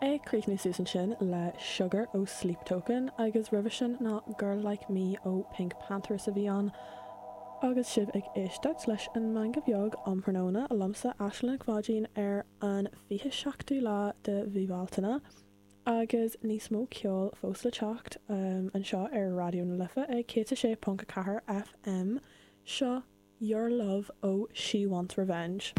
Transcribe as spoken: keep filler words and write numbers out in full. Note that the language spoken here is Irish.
Ag críochnú suas ansin le Sugar ó Sleep Token agus roimhe sin ná Girl Like Me ó PinkPantheress a bhí ann. Agus sibh ag éisteacht leis an Meangadh Beag um thráthnóna liomsa Aisling Mhaidín ar an fiche seachtú lá de mhí Bealtaine. Agus níos mó ceol fós le teacht um, anseo ar Raidió na Life ag céad a sé ponc a ceathair FM seo Your Love ó She Wants Revenge.